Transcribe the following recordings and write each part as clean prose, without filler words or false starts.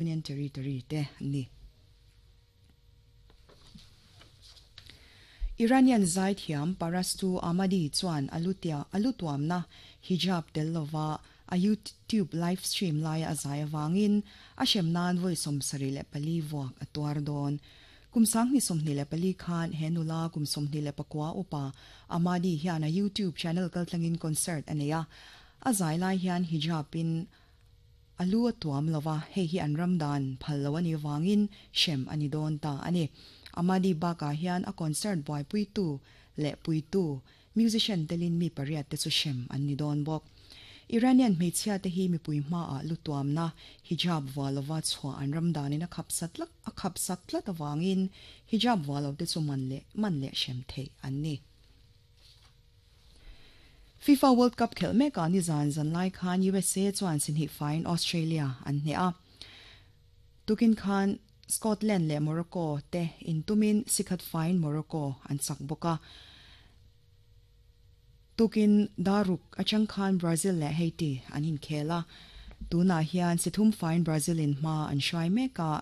Union Territory te an ni. Iranian zaithiam Parastoo Ahmadi chuan a lutia a lutuamna hijab tel lova a YouTube live stream laia a zai avangin a hrem nan vawi 74 vuak a tuar dawn. Kum 2024 khan he nula kum 21 upa Ahmadi hian a YouTube channel kaltlangin concert a nei a, a zai lai hian hijab in A lu a tuam lo va, hei hi an ram dan phal lo a nih vangin hrem a ni dawn ta a ni. Amadi bakah hian a concert buaipuitu leh puitu, musician telin mi pariat te chu hrem an ni dawn bawk. Iranian hmeichhia te hi mipui hmaah lu tuamna, hijab vuah lova chhuah an ram danin a khap sat a khap sak tlat avangin hijab vuah lo te chu man leh man leh hrem theih an ni. FIFA World Cup khelh mekah nizan zan lai khan USA chuan sihnih faiin Australia an hneh a. Tukin khan Scotland leh Morocco te intumin sikhat faiin Morocco an chak bawk a. Tukin daruk atang khan Brazil leh Haiti an inkhel a. Tunah hian sithum faiin Brazil in hma an hruai mek a.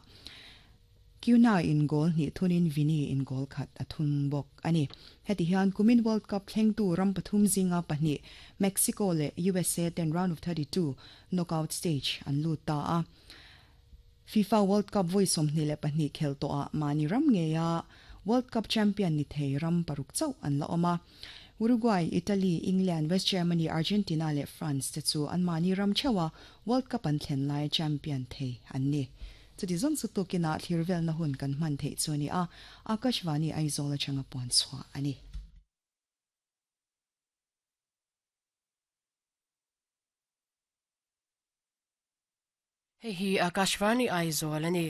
Cunha in goal hnih thunin Vini in goal khat a thun bawk a ni. Heti hian kumin World Cup thlengtu ram pathum zinga pahnih Mexico leh USA ten round of 32 knockout stage an lut ta a. FIFA World Cup vawi 22 khel tawhah mahni ram ngeia World Cup champion ni thei ram paruk chauh an la awm a. Uruguay, Italy, England, West Germany, Argentina leh France te chu an mahni ram theuha World Cup an thlen laia champion thei an ni. Chuti zawng chu tukinah thlir velna hun kan hman theih chu a ni a, Akashvani Aizawl atanga puan chhuah a ni. Hei hi Akashvani Aizawl a ni.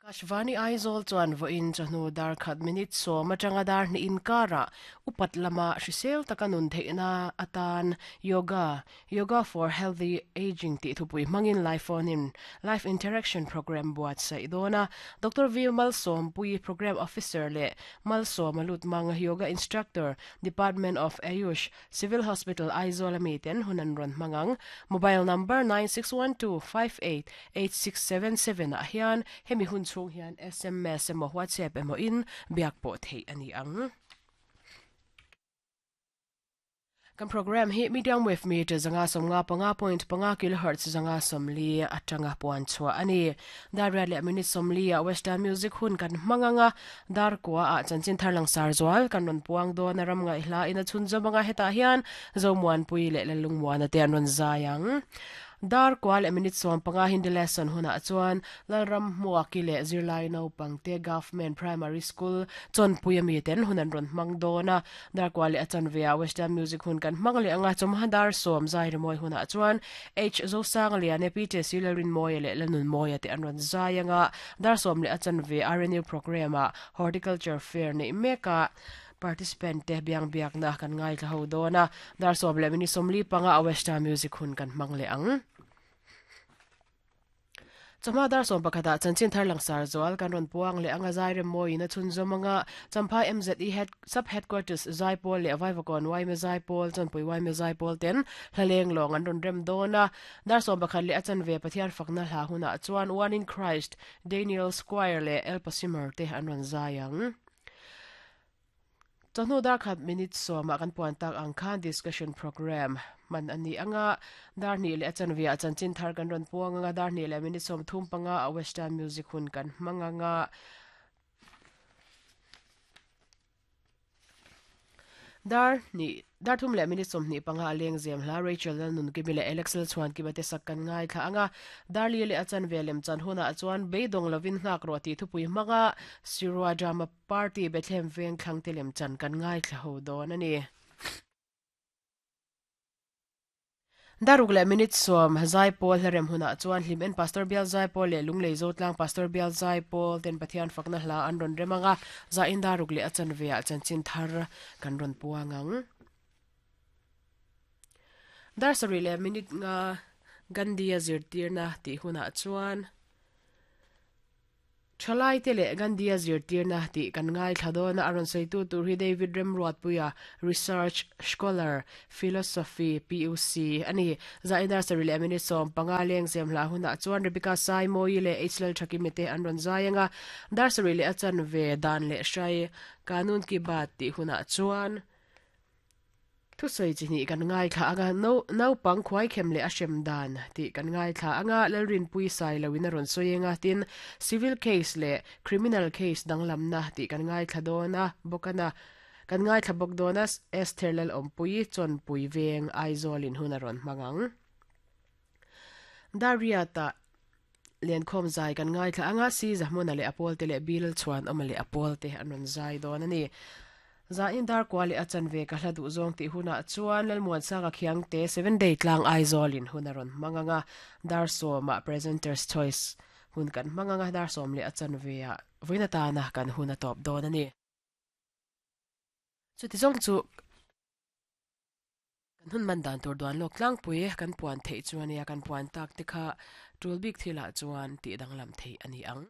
Akashvani Aizawl chuan vawiin chawhnu dar khat minute sawm atanga dar hnih inkarah upat lama hrisel taka nun theihna atan Yoga, Yoga for Healthy Ageing tih thupui hmangin live phone in live interaction program buatsaih dawn a. Doctor V Malsawmpui, Program Officer leh Malsawma Lutmang, Yoga Instructor, Department of Ayush, Civil Hospital Aizawl a miten hun an rawn hmang ang. Mobile number 9612588677 ah hian hemi hun chhung hian sms emaw WhatsApp emaw in biak pawh theih a ni ang. Kan program hi medium wave meter 155.5 kilohertz 140 atanga puan chhuah a ni. Dar riat leh minute 40 ah Western Music hun kan hmang anga Dar kua ah chanchin thar langsar zual kan rawn puang dawn a ram ngaihhla in a chhunzawm anga hetah hian Zomuanpui leh Lalungmuana te an rawn zai ang. Dar kua leh minute 15 Hindi lesson hunah chuan Lalram Hmuaki leh zirlai naupang te Government Primary School Chawnpui ami ten hun an rawn hmang dawn a. Dar kua leh a chanve ah Western Music hun kan hmang leh anga chawmha dar sawm zai rimawi hunah chuan H Zosangliane, PTC Lalrinmawia leh Lalnunmawia te an rawn zai anga Dar sawm leh a chanve RNU programme ah Horticulture Fair neih mek a participant te biang biakna kan ngaithla ho dawn a, dar sawm leh minute 45 a Western Music hun kan hmang leh ang. Chawhma dar sawm pakhatah chanchin thar langsar zual kan rawn puang leh anga zai rem mawiin a chhunzawm anga Champhai MZE Head Sub Headquarters Zaipawl leh Vaivakawn Yma Zaipawl Chawnpui Yma Zaipawl ten hlaleng lawng an rawn rem dawn a, Dar sawm pakhat leh a chanve Pathian fakna hla hunah chuan One in Christ, Daniel Squire leh El Pasimer te an rawn zai ang. Chawhnu dar khat minute sawmah kan puan tak ang khan discussion programme hman a ni ang a, dar hnih leh a chanve ah chanchin thar kan rawn puang ang a, dar hnih leh minute 35 ah Western music hun kan hmang ang a. Dar hnih dar thum leh minute 25 a leng zem hla Rachel Lalnunkimi leh Alex Lalchhuankima te sak kan ngaithla ang a, Darli leh a chanve lem chan hunah chuan beidawng lovin nghak rawh tih thupui hmanga Sirua Drama Party Bethlehem veng thlangte lem chan kan ngaithla ho dawn a ni. Daruk leh minute sawm Zaipawl hlarem hunah chuan Hlim En Pastor Bial Zaipawl leh Lunglei Zotlang Pastor Bial Zaipawl ten Pathian fakna hla an rawn rem ang a, zain daruk leh a chanve ah chanchin thar kan rawn puang ang. Dar sarih leh minute nga Gandhi-a zirtirna tih hunah chuan. Thalaite leh Gandhi-a zirtirna tih kan ngaithla dawn a, a rawn sawitu tur hi David Remruatpuia, Research Scholar, Philosophy, PUC, a ni. Zaidar sarih leh minute 15 lengzem hlah hunah chuan Rebecca Saimawii leh H Lalthakimi te an rawn zai ang a, dar sarih leh a chanve dan leh hrai Kanun Ki Baat tih hunah chuan Thusawi chi hnih kan ngaithla ang a, no, naupang khuaikhem leh a hrem dan tih kan ngaithla ang a, Lalrinpui sai loin a rawn sawi eng a, tin, civil case leh criminal case danglamna tih kan ngaithla dawn a, bawkana kan ngaithla bawk dawn a, Esther Lalawmpuii Chawnpui veng Aizawlin hun a rawn hmang ang. Dariata Lenkhawm zai kan ngaithla ang a, Si Zahmuna leh a pawlte leh Bil Chhuanawma leh a pawlte an rawn zai dawn a ni. Zain dar kua leh a chanve ka hla duh zawng tih hunah chuan Lalmuansanga Khiangte Seven Day Tlang Aizawlin hun a rawn hmang ang a, dar sawmah Presenter's Choice hun kan hmang ang a, dar sawm leh a chanveah vawiin atana kan hun a tawp dawn a ni. Chuti zawng chu. Kan hun man dan tur duan lawk tlangpui kan puan theih chu a nia, kan puan tak te kha tul bik thilah chuan tih danglam theih a ni ang.